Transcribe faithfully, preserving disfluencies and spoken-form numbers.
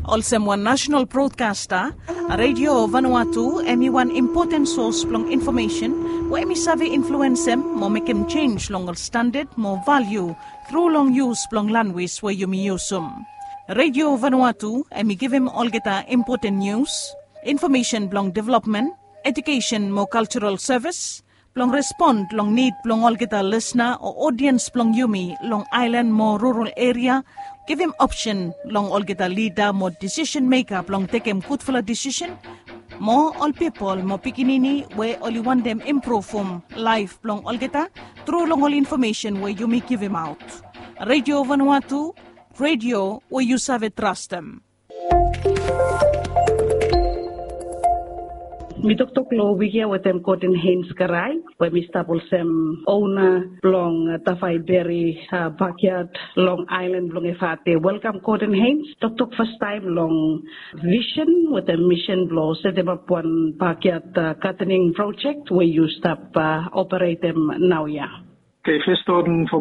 Olsem wan nasenal brodkasta, Radio Vanuatu em i wan impoten sos blong infomesen we em i save influensem mo mekem jenj long ol standad mo valiu tru long yus blong lanwis we yumi yusum. Radio Vanuatu em i givim olgeta impoten nius, infomesen blong developmen, ejukesen mo kaljaral sevis, blong respon long nid blong olgeta lisna o odiens blong yumi long aelan mo rural eria, givim opsen long olgeta lida mo disisen meka blong tekem gudfala disisen, mo ol pipol mo pikinini we oli wantem impruvum laef blong olgeta tru long ol infomesen we yumi givimaot. Radio Vanuatu, radio we yu save trastem. Mi toktok long wik ya wetem Gordon Haynes Karai, we mi stap olsem ona blong Tafai Beri bakyat long aelan blong Efate. Welkam Gordon Haynes. Toktok fastaem long visen wetem misen blong setemap wan bakyat gadening projek we yu stap operetem naoia. Okei, fes Gordon,